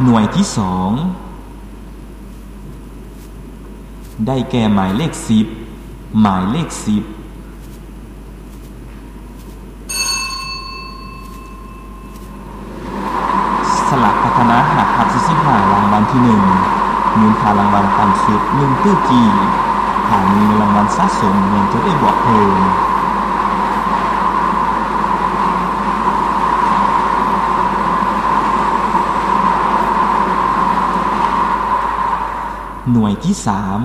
ໜ່ວຍທີສອງ ໄດ້ແກ່ໝາຍເລກສິບ, ໝາຍເລກສິບ. ສະຫຼາກພັດທະນາຫ້າທັບສີ່ສິບຫ້າ ລາງວັນທີໜຶ່ງ ມູນຄ່າລາງວັນຕ່ຳສຸດໜຶ່ງຕື້ກີບ. ຖ້າມີເງິນລາງວັນສະສົມແມ່ນຈະໄດ້ບວກເພີ່ມ. ໜ່ວຍທີສາມ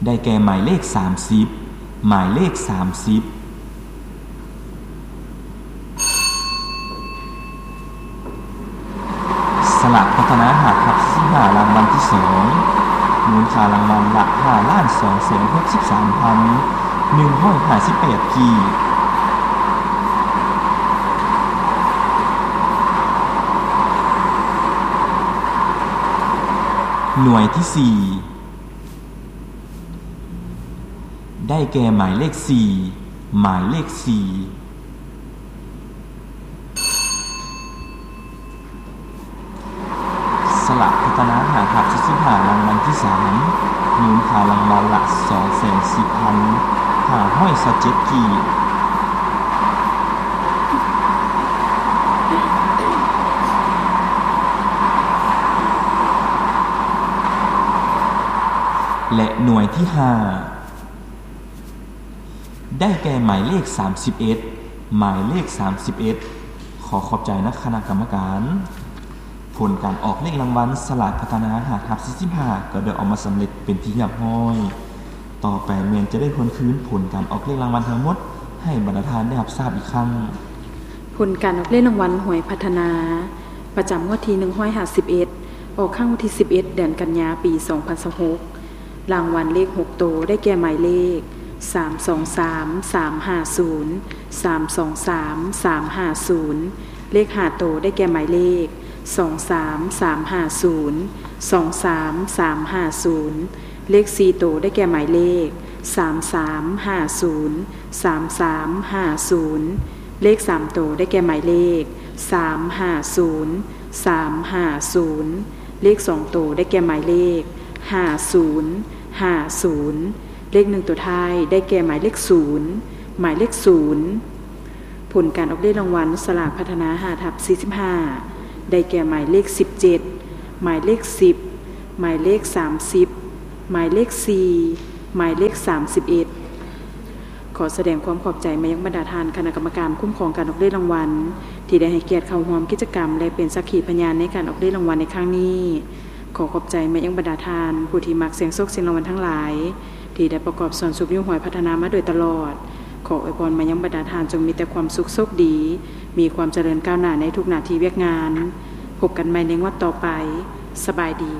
ໄດ້ແກ່ໝາຍເລກສາມສິບ, ໝາຍເລກສາມສິບ. ສະຫຼາກພັດທະນາຫ້າທັບສີ່ສິບຫ້າ ລາງວັນທີສອງ ມູນຄ່າລາງວັນລະຫ້າລ້ານສອງແສນຫົກສິບສາມພັນໜຶ່ງຮ້ອຍຫ້າສິບແປດກີບ. ໜ່ວຍທີສີ່ ໄດ້ແກ່ໝາຍເລກສີ່, ໝາຍເລກສີ່. ສະຫຼາກພັດທະນາຫ້າທັບສີ່ສິບຫ້າ ລາງວັນທີສາມ ມູນຄ່າລາງວັນລະສອງແສນສິບພັນຫ້າຮ້ອຍຊາວເຈັດກີບ. ແລະ ໜ່ວຍທີຫ້າ ໄດ້ແກ່ໝາຍເລກສາມສິບເອັດ, ໝາຍເລກສາມສິບເອັດ. ຂໍຂອບໃຈນະຄະນະກຳມະການ. ຜົນການອອກເລກລາງວັນສະຫຼາກພັດທະນາຫ້າທັບສີ່ສິບຫ້າ ກໍໄດ້ອອກມາສຳເລັດເປັນທີ່ຮຽບຮ້ອຍ. ຕໍ່ໄປແມ່ນຈະໄດ້ທວນຄືນຜົນການອອກເລກລາງວັນທັງໝົດໃຫ້ບັນດາທ່ານໄດ້ຮັບຊາບອີກຄັ້ງ. ຜົນການອອກເລກລາງວັນຫວຍພັດທະນາ ປະຈຳງວດທີໜຶ່ງຮ້ອຍຫ້າສິບເອັດ ອອກຄັ້ງວັນທີສິບເອັດ ເດືອນກັນຍາ ປີສອງພັນຊາວຫົກ. ລາງວັນເລກຫົກໂຕ ໄດ້ແກ່ໝາຍເລກ ສາມສອງສາມ ສາມຫ້າສູນ ສາມສອງສາມ ສາມຫ້າສູນ. ເລກຫ້າໂຕ ໄດ້ແກ່ໝາຍເລກ ສອງສາມສາມຫ້າສູນ ສອງສາມສາມຫ້າສູນ. ເລກສີ່ໂຕ ໄດ້ແກ່ໝາຍເລກ ສາມສາມຫ້າສູນ ສາມສາມຫ້າສູນ. ເລກສາມໂຕ ໄດ້ແກ່ໝາຍເລກ ສາມຫ້າສູນ ສາມຫ້າສູນ. ເລກສອງໂຕ ໄດ້ແກ່ໝາຍເລກ ຫ້າສູນ ຫ້າສູນ. ເລກໜຶ່ງໂຕທ້າຍ ໄດ້ແກ່ໝາຍເລກສູນ ໝາຍເລກສູນ. ຜົນການອອກເລກລາງວັນສະຫຼາກພັດທະນາຫ້າທັບສີ່ສິບຫ້າ ໄດ້ແກ່ໝາຍເລກສິບເຈັດ, ໝາຍເລກສິບ, ໝາຍເລກສາມສິບ, ໝາຍເລກສີ່, ໝາຍເລກສາມສິບເອັດ. ຂໍສະແດງຄວາມຂອບໃຈມາຍັງບັນດາທ່ານຄະນະກຳມະການຄຸ້ມຄອງການອອກເລກລາງວັນ ທີ່ໄດ້ໃຫ້ກຽດເຂົ້າຮ່ວມກິດຈະກຳ ແລະ ເປັນສັກຂີພະຍານໃນການອອກເລກລາງວັນໃນຄັ້ງນີ້. ຂໍຂອບໃຈມາຍັງບັນດາທ່ານຜູ້ທີ່ມັກສ່ຽງໂຊກສ່ຽງລາງວັນທັງຫຼາຍ ທີ່ໄດ້ປະກອບສ່ວນຊຸກຍູ້ຫວຍພັດທະນາມາໂດຍຕະຫຼອດ. ຂໍອວຍພອນມາຍັງບັນດາທ່ານຈົ່ງມີແຕ່ຄວາມສຸກໂຊກດີ, ມີຄວາມຈະເລີນກ້າວໜ້າໃນທຸກໜ້າທີ່ວຽກງານ. ພົບກັນໃໝ່ໃນງວດຕໍ່ໄປ. ສະບາຍດີ.